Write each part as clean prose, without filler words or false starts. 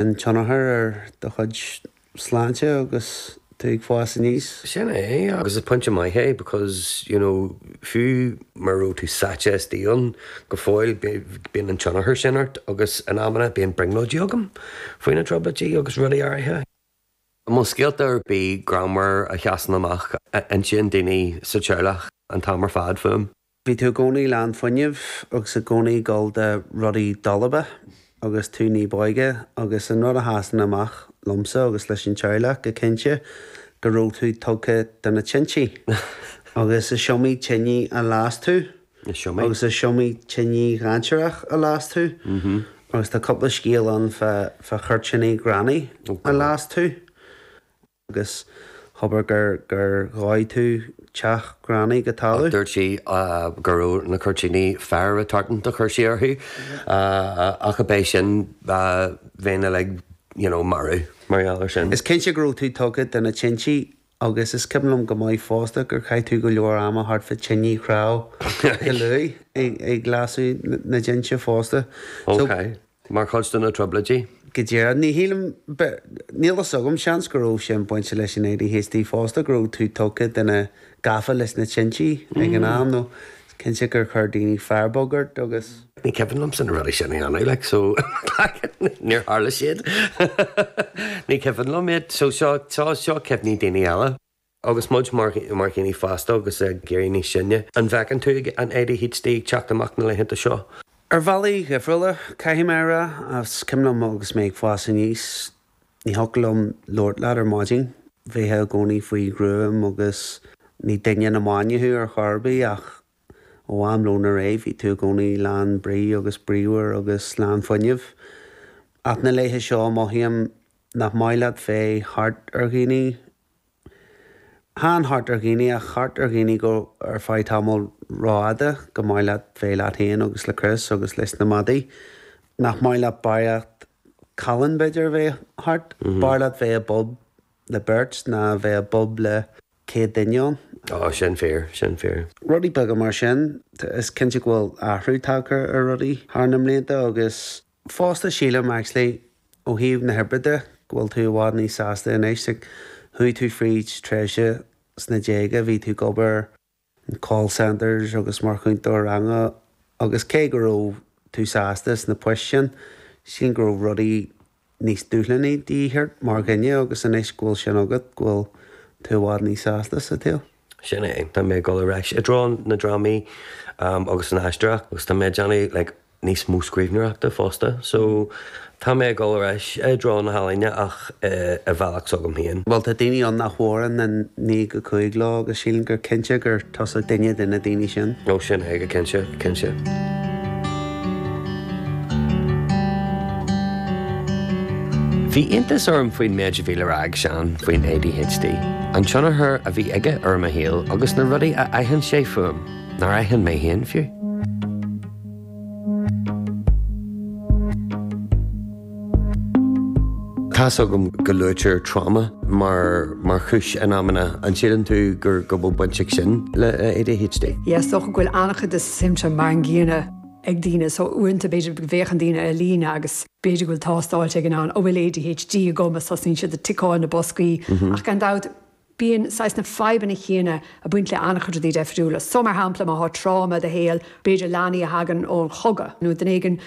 An tionchar ar do chuid sláinte agus tú ag fás aníos. Sin é, agus is pointe maith é because, you know, fiú mura raibh tú sáite istigh ann go fóill, bíonn an tionchar sin ort agus in amanna bíonn brionglóidí agam faoi na trioblóidí agus rudaí áirithe. An bhfuil scéalta ar bith greannmhar a sheasann amach a insíonn daoine sa teaghlach an t-am ar fad fúm? Bhí tú i gcónaí lán fuinnimh agus i gcónaí ag gabháil do rudaí dalba agus tú ní b'óige agus an rud a sheasann amach liomsa agus leis an teaghlach go cinnte go raibh tú tugtha do na tintí agus is iomaí tine a las tú agus is iomaí tine dhainséarach a las tú agus tá cúpla scéal ann fá chuirtíní Ghranny a las tú. agus abair gur gur dhóigh tú teach Granny go talamh. Dúirt sí go raibh na cuirtíní fire retardant a chuir sí orthu ach ab é sin bheinn uilig you know marbh mar gheall air sin. Is cinnte go raibh tú tugtha do na tintí agus is cuimhin liom go maith fosta gur chaith tú go leor ama thart fá tine chnámh go luath ag lasadh na dtinte fosta. So. Ok. Mar chuid de na trioblóidí. Go díreach. Ní shílim, níl fhios agam, seans go raibh sin bainte leis an ADHD fosta, go raibh tú tugtha do na, gafa leis na tintí ag an am nó is cinnte gur chuir daoine firebug ort agus. Ní cuimhin liomsa na rudaí sin a dhéanamh, like, so níor tharla siad. Ní cuimhin liom iad, so seo, seo cuimhní daoine eile. Agus muid mar dhaoine fásta agus ag éirí níos sine, an bhfeiceann tú an ADHD ag teacht amach na laethanta seo? Ar bhealaí dhifriúla, caithfidh mé a rá. Is cuimhin liom agus mé ag fás aníos, ní thiocfadh liom labhairt leat ar maidin. Bheifeá i gcónaí faoi ghruaim agus ní duine na mbainne thú ar chor ar bith ach ó am lóin ar aghaidh bhí tú i gcónaí lán brí agus bríomhar agus lán fuinnimh. Ach na laetha seo mothaím nach maith leat bheith thart ar dhaoine Chan thart ar dhaoine, ach thart ar dhaoine go ar feadh tamall rófhada, gur maith leat bheith leat féin agus le Chris agus leis na madaí. Nach maith leat barraíocht callán b'fhéidir a bheith thart. B'fhearr leat bheith i bpub le beirt ná bheith i bpub le 100 duine ann. Ó, sin fíor, sin fíor. Rudaí beaga mar sin. Is cinnte go bhfuil athrú tagtha ar rudaí thar na mblianta agus. Fosta sílim actually ó thaobh na hoibre de go bhfuil tú i bhfad níos sásta anois like chuaigh tú fríd tréimhse sna déaga bhí tú ag obair in call centres agus mar chúntóir ranga agus cé go raibh tú sásta sna poist sin sílim go raibh rudaí níos dúshlánaí de dhíth ort mar dhuine agus anois go bhfuil sin agat go bhfuil tú i bhfad níos sásta sa tsaol. Sin é. Tá mé ag dul ar ais i dtreo na drámaí agus an aisteoireacht agus tá mé ag déanamh like níos mó scríbhneoireachta fosta. So tá mé ag dul ar ais i dtreo na healaíne ach i bhealach s'agam féin. Bhuel tá daoine ann nach bhfóireann an 9 go 5 leo agus sílim gur cinnte gur tusa duine de na daoine sin. Ó sin é go cinnte, cinnte. Bhí iontas orm faoin méid a bhí le rá ag Seán faoin ADHD, an tionchar a bhí aige ar mo shaol agus na rudaí a aithin sé fúm nár aithin mé féin fiú. Tá's agam go luaitear trauma mar mar chúis in amanna, an síleann tú gur go bhfuil baint ag sin le ADHD? Yeah, is dócha go bhfuil an-chuid de siomptóim mar an gcéanna ag daoine so uaireanta b'fhéidir go bhféachann daoine ar líne agus b'fhéidir go bhfuil tástáilte ag an am an bhfuil ADHD agam agus tosnaíonn siad ag ticeáil na boscaí ach gan dabht bíonn saghas na fadhbanna chéanna ag baint le an-chuid rudaí deifriúla. So mar shampla má thá tráma i do shaol, b'fhéidir leanaí a thagann ón chogadh nó duine éigin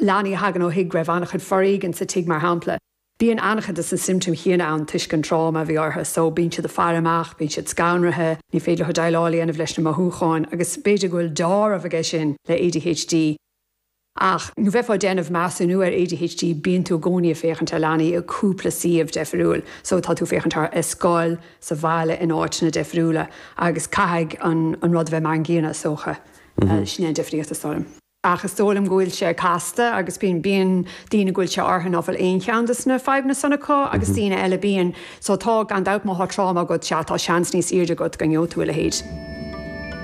leanaí a thagann ó thigh go raibh an-chuid foréigin sa tigh mar shampla. Bíonn an-chuid de na siomptóim chéanna ann toisc an tráma a bhí orthu so bíonn siad ag faire amach, bíonn siad scanraithe, ní féidir leo déileáil a dhéanamh leis na mothúcháin agus b'fhéidir go bhfuil dealramh aige sin le ADHD. Ach nuair a bheifeá ag déanamh measúnú ar ADHD bíonn tú i gcónaí ag féachaint ar leanaí i cúpla suíomh deifriúil so tá tú ag féachaint orthu ar scoil, sa bhaile, in áiteanna deifriúla agus caithfidh an rud a bheith mar an gcéanna is dócha. Sin é an difríocht is dóigh liom. Ach is dóigh liom go bhfuil sé casta agus bíonn, bíonn daoine go bhfuil sé orthu ná fuil aon cheann de na fadhbanna san acu agus daoine eile bíonn. So tá, gan dabht má thá tráma agat, sea, tá seans níos airde agat go ngeobhaidh tú a leithéid.